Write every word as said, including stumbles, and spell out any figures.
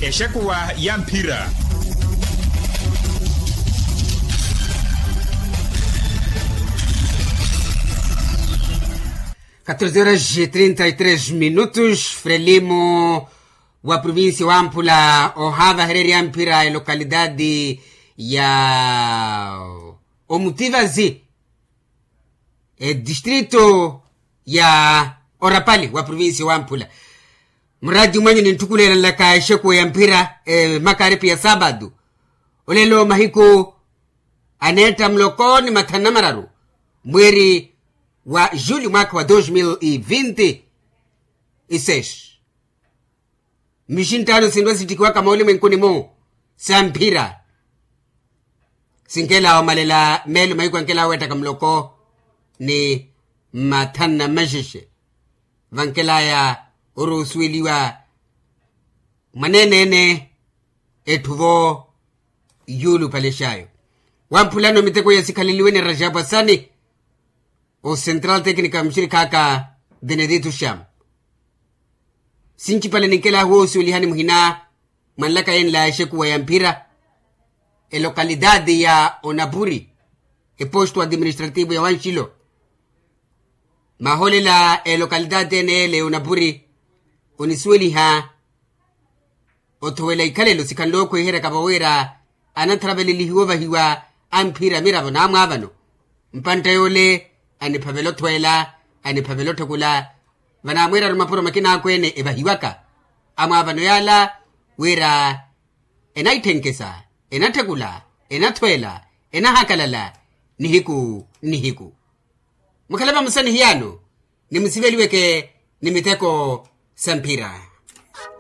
Exekuwa ya mphira. Katorze horas e trinta e tres minutos. Frelimo wa provincia wamphula ohavahererya mphira e localidade ya omutivazi e distrito ya orapali wa provincia wamphula. Muradi mwanyu ninthukulelanlaka exekuwa ya mphira e makaripi ya sapatu olelo mahiku aneetta muloko ni mathanu na mararu mweri wa julho mwaka wa dos mil e vinti e seis. Mixinttaano sinrwa sittikiwaka moolimwenkuni-mu sa mphira sinkela omalela meelo mahiku ankela oweettaka muloko ni mathanu na maxexe. Vankelaya oruusuweliwa mwaneeneene etthu vo yuulupalexayo. Wamphulano miteko ya sikhaleliwe ni rajapu asani o central tecnica muxirikhaaka venedito sham. Sincipale ninkelahu woosuwelihani muhina mwanlaka yenla exekuwa ya mphira elocalidade ya onapuri eposto administrativo ya wanxilo. Mahoolela elocalidade ene ele onapuri onisuweliha othowela ikhalelo sikhanle okhweherya kava wira anatharavelelihiwa ovahiwa amphira miravo naamwaavano. Mpantta yoole aniphavela othweela aniphavela otthekula. Vanaamweerari mapuro makina akweene evahiwaka amwaavano yaala wira enaitthenkesa enatthekula enathweela enahakalala nihiku nihiku. Mukhale vamusanihiyaano nimusiveliweke ni miteko sa mphira.